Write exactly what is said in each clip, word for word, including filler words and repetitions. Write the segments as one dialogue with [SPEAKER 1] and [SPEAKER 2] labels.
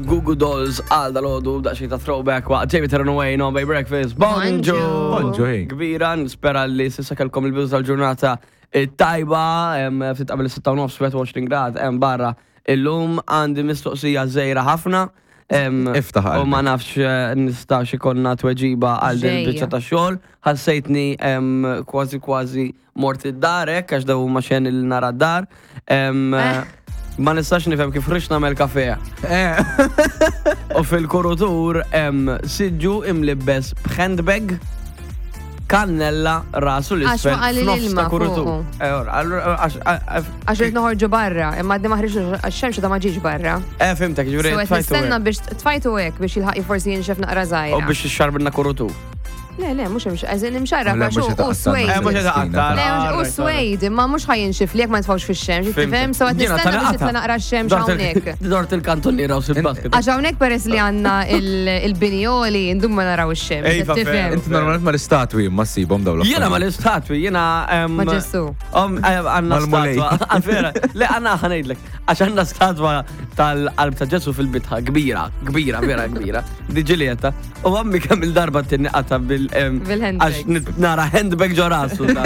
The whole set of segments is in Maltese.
[SPEAKER 1] Goo Goo Dolls għal dal-għodu, daqsxejn ta' throwback waqt Jamie Terran Away on Bay Breakfast. Bonġu!
[SPEAKER 2] Bonġu, hey.
[SPEAKER 1] Kbira, nispera li s'issa kellkom il-bidu tal-ġurnata tajba, em, ftit qabel is-sitta u nofs, wieħed u għoxrin grad, hemm barra. Illum għandi mistoqsija żgħira ħafna. em,
[SPEAKER 2] Iftaħ
[SPEAKER 1] U ma
[SPEAKER 2] qalbek.
[SPEAKER 1] Nafx eh, nistax ikollna tweġiba għal din
[SPEAKER 3] Ġejja.
[SPEAKER 1] il-biċċa ta' xogħol. Ħassejtni em, kważi kważi mort id-darek għax daw ma xen il nara d-dar. Em,
[SPEAKER 3] Eh.
[SPEAKER 1] Ma nistax nifhem kif rridx nagħmel kafe.
[SPEAKER 2] Eh.
[SPEAKER 1] U fil-kurutur hemm siġġu imlibbes b'handbag, kannella rasu
[SPEAKER 3] Għax
[SPEAKER 1] l-isfel
[SPEAKER 3] waqa' li
[SPEAKER 1] f'nofs
[SPEAKER 3] l-ilma
[SPEAKER 1] ta' kurutur.
[SPEAKER 3] fuqu.
[SPEAKER 1] Eh, ora, allura, għax- għax-
[SPEAKER 3] Għax rrid noħorġu barra, imma għadni ma ħriġ għax-xemx da ma ġiex barra.
[SPEAKER 1] Eh, fhimtek, ġifieri
[SPEAKER 3] So qed
[SPEAKER 1] tfajtu
[SPEAKER 3] nistenna
[SPEAKER 1] hekk.
[SPEAKER 3] biex tfajtu hekk biex jilħaq forsi jinxef naqra żgħira.
[SPEAKER 1] U biex ixxarbilna kurutur.
[SPEAKER 3] Le, le, mhux imx, eżin imxarra,
[SPEAKER 2] Le,
[SPEAKER 3] għax
[SPEAKER 2] mhux
[SPEAKER 3] u
[SPEAKER 2] jitaqatta.
[SPEAKER 3] swade.
[SPEAKER 1] Eh, mhux jitaqatta.
[SPEAKER 3] Le, u
[SPEAKER 1] Alright,
[SPEAKER 3] swade, imma mhux ħa jinxif li jekk ma nitfgħux fix-xemx,
[SPEAKER 1] Fhimtek.
[SPEAKER 3] tifhem? So qed
[SPEAKER 1] Jiena
[SPEAKER 3] nistenna biex
[SPEAKER 1] tal-qata.
[SPEAKER 3] jitla naqra x-xemx
[SPEAKER 1] Dort il-
[SPEAKER 3] hawnhekk.
[SPEAKER 1] Dort il-kantoniera u sil-basket.
[SPEAKER 3] Għax hawnhekk peress li għandna il-binjoli ndum ma naraw ix-xemx,
[SPEAKER 1] Ejfa,
[SPEAKER 3] tifhem?
[SPEAKER 2] Inti normalment ma l-istatwi ma ssibhom dawn
[SPEAKER 1] Jiena ma l-istatwi, jiena. em,
[SPEAKER 3] Ma Ġesu.
[SPEAKER 1] Om, eh, għandna
[SPEAKER 2] Mal-mulej.
[SPEAKER 1] statwa. Ah, vera, le, għandna ħa ngħidlek. Għax għandna statwa tal-qalb ta' Ġesu fil-bitħa, kbira, kbira, vera kbira. Di Ġilieta. U għammi kemm il-darba tinni qata bil. em,
[SPEAKER 3] Bil-handbags.
[SPEAKER 1] Għax nit- nara handbag ġo rasu. da.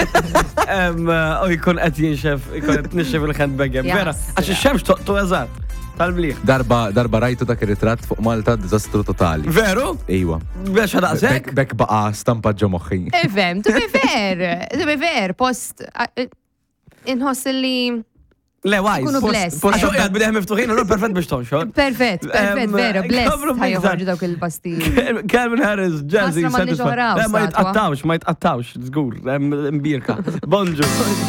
[SPEAKER 1] Em, eh, U jkun qed jinxef, jkun qed nixxef il-handbag hemm. Vera,
[SPEAKER 3] Jasra.
[SPEAKER 1] għax ix-xemx toqtu eżatt. Tal-bliħ.
[SPEAKER 2] Darba, darba rajtu dak ir-ritratt fuq Malta, diżastru totali.
[SPEAKER 1] Veru?
[SPEAKER 2] Ejwa.
[SPEAKER 1] Biex
[SPEAKER 2] Bek,
[SPEAKER 1] daqshekk?
[SPEAKER 2] bek baqa stampa ġo moħħi.
[SPEAKER 3] Ifhem, to be fair, to be fair, post inħoss li
[SPEAKER 1] Le, wise.
[SPEAKER 3] Kunu blessed.
[SPEAKER 1] Għax u qiegħed bidejh miftuħin, allura perfett biex tonxor.
[SPEAKER 3] Perfett, perfett,
[SPEAKER 1] Em,
[SPEAKER 3] vera, blessed
[SPEAKER 1] Kabru
[SPEAKER 3] ħa joħorġu
[SPEAKER 1] biktar.
[SPEAKER 3] dawk il-pasti.
[SPEAKER 1] Calvin Harris, Jazzy,
[SPEAKER 3] Ħasra m'għandniex
[SPEAKER 1] Satisfied.
[SPEAKER 3] oħra
[SPEAKER 1] Le, ma
[SPEAKER 3] statwa.
[SPEAKER 1] jitqattawx, ma jitqattawx, żgur, em, imbirka. Bonġu.